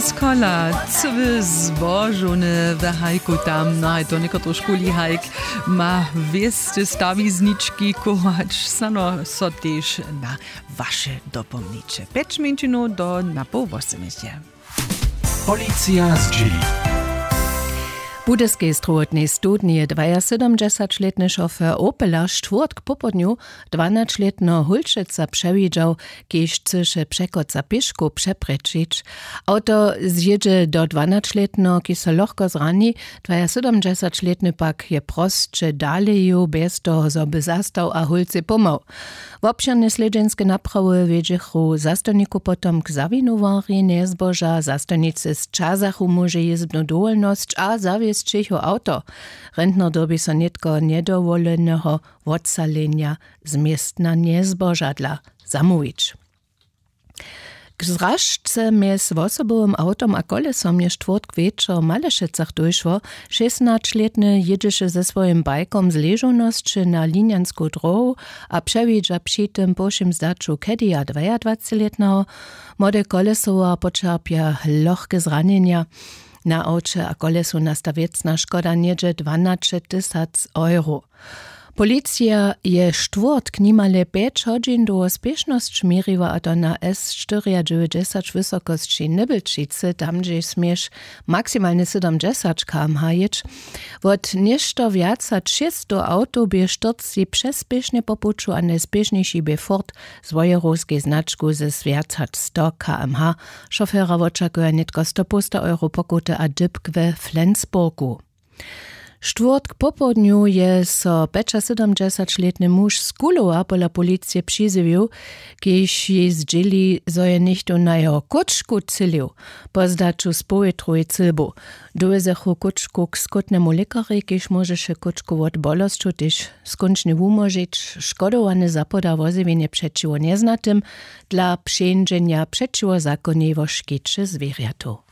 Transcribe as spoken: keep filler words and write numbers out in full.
Skola, cyły zbožowny w hajku tam, no haj to někotre škuli hajk ma wěsty stawiznički kować, sano so tež na waše dopomniće pjeć mjeńšinow do na poł wosomjeće. Policija zdźěli. W budyskej strowotnej studni je dwajasydomdźesaćlětny šofer opela štwórtk popołdnju dwanaćlětneho hólčeca přewidźał, kiž chcyše překoca pěškow přeprječić. Awto zjědźe do dwanaćlětneho, kiž so lochko zrani. Dwajasydomdźesaćlětny pak je prosće dale jěł bjez toho zo by zastał a hólcej pomhał. Wobšěrne slědźenske naprawy wjedźechu zastojnikow potom k zawinowarjej njezboža. Zastojnicy sćazachu móže jězbnu dowolnosć a zawěsć jeho awto. Rentner dyrbi so nětko njedowoleneho wotsalenja z městna njezbožadla zamołwić. K zražce mjez wosobowym awtom a kolesom je štwórtk wječor w malešecach dóšło. Šěsnaćlětny jědźeše ze swojim bajkom z ležownosće na linjansku dróhu a přewidźa při tym po wšěm zdaću kedija dwajadwacećlětneho. Młode kolesowa poćerpja lochke zranjenja. Na awće a kolesu nasta wěcna škoda něhdźe dwanaće tysac euro. Policija je štwórtk nimale pjeć hodźin dołho spěšnosć měriła, a to na s štyriadźewjećdźesać wysokosći nybylčicy, tam hdźež směš maksimalnje sydomdźesać km h jěć. Wot něšto wjac hač šěsćstow awtow bě štyrcci přespěšnje po puću a najspěšnjejši bě fort z wojerowskej značku z wjac hač sto km h. Šofera wočakuja nětko stopołsta euro pokuty a dypk we flensburgu. Štwórtk popołdnju je so pjećasydomdźesaćlětny muž z kulowa pola policije přizjewił, kiž jej zdźěli, zo je něchtó na jeho kóčku třělił. Po zdaću spowětrowej cylbu dowjezechu kóčku k skótnemu lěkarjej, kiž móžeše kóčku wot bolosćow tež skónčnje wumóžić. Škodowany zapoda wozjewjenje přećiwo njeznatym dla přeńdźenja přećiwo zakonjej wo škěće zwěrjatow.